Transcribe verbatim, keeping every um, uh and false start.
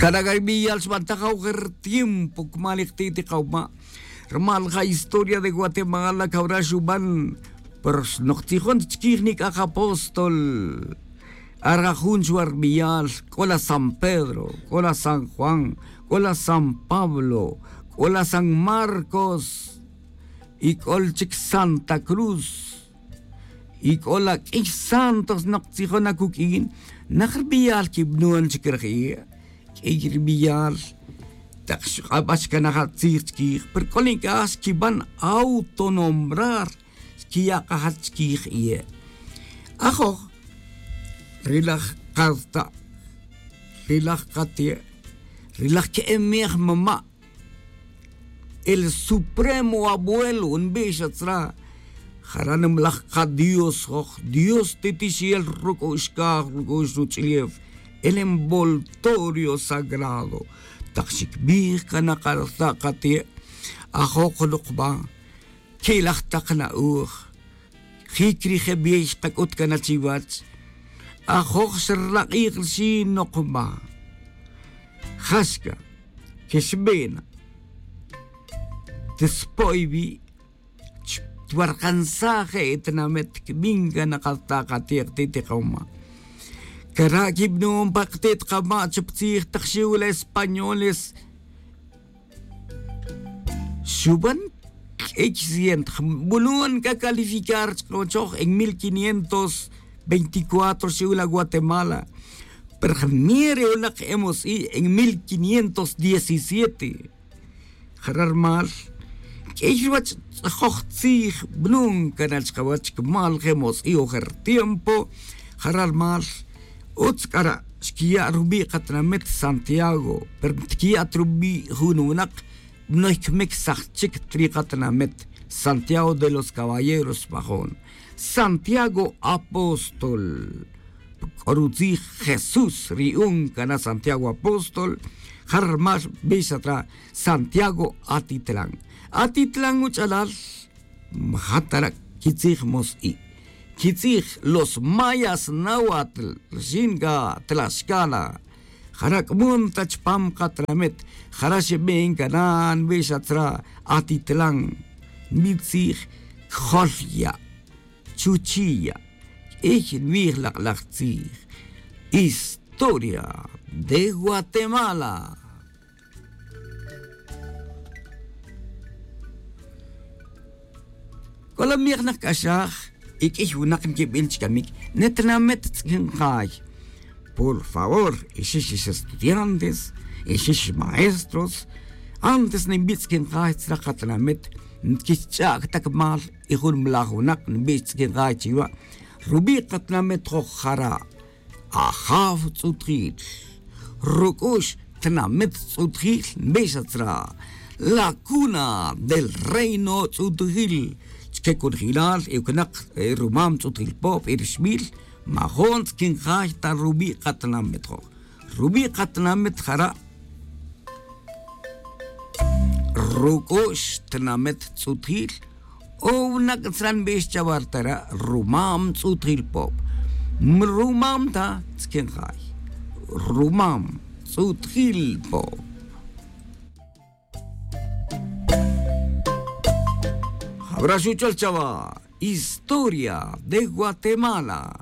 Cana' ca ri biyal xbantaj awojer tiempo cumalik ti' ti kawma'. Rumal ja historia de guatemala cawra xuban. Pero xnok tzijon ta chiquij nic'aj apóstol. Ara jun chuwa ri biyal c'o la san pedro, c'o la san juan, c'o la san pablo, c'o la san marcos, y c'o la chic santa cruz. Y c'o la q'uiy santo xnok tzijon acuq'uin. Nak ri biyal quibanon chic ri jie'. Q'uiy ri biyal tak xk'aba' xcanaj atzij chiquij pero c'o nic'aj xquiban autonombrar. Xquiya' k'ajat chiquij iye'. Ajoj ri laj karta', ri laj kate', ri laj ke'emej mama', el supremo abuelo nbix atzra. Jara' nimalaj kadios joj dios titixel ruc'u'x caj ruc'u'x ruch'ulew, el envoltorio sagrado. Tak xicbij cana' karta' kate', ajoj lok ba. Que'laj tak na'oj. Jic ri je bey xkac'ut cana' chiwach. Ajoj xralak'ij rixin nok ba. Jaxca quexbena. Tispo'y wi'. Chwarkansaj je' tinamit quibin cana' karta' kate' kati' ti kawma'. Cara' quibanon pa kati' ti kawma' chupa tzij tak xiw la españoles. Xuban q'uiy ciento. Bulon c'a calificar chkawachoj en mil quinientos veinticuatro xiw la guatemala. Pero jmir ri unak hemos i' en mil quinientos diecisiete. Jara' rumal q'uiy ruwach tz'ajoj tzij bulon cana' chkawach cumal je mos i' ojer tiempo. Jara' rumal utz c'ara' xquiya' rubi' katinamit santiago pero tiquiya' ta rubi' jun winak. Banoy cmicsaj chic ta ri katinamit santiago de los caballeros xmajon santiago apóstol. C'o rutzij jesús ri un cana' santiago apóstol. Jara' rumal bix atra santiago atitlan. Atitlan uch'alal maja' tara' quitzij mos i' quitzij los mayas nawatl rixin ca tlaxcala. Jara' c'mon ta chupam katinamit jara' xibin cana' nbix atzra atitlan. Nbin tzij cjol ya' chuchi' ya' q'uiy nbij lak'laj tzij. Historia de guatemala. C'o la mijnak c'axaj y q'uiy winak nquibil chi camic. Netinamit tz'iquin kay por favor ixix ix estudiantes ixix maestros. Antes nimbi' tz'iquin kay tzra katinamit nquich'ac ta cumal y jun mlaj winak nimbi' tz'iquin kay chiwa'. Rubi' katinamit joj jara' ajaw tz'utjil ruc'ux tinamit tz'utjil nbix atzra la cuna del reino tz'utjil. Chique conojilal y ucnak rumam tz'utjil pob y rixbil majon tz'iquin jay ta rubi' katinamit joj. Rubi' katinamit jara' ruc'ux tinamit tz'utjil. O winak tzra' nbix chawa ri tara' rumam tz'utjil pob. Rumam ta tz'iquin jay rumam tz'utjil pob. Jawra xuchol chawa historia de guatemala.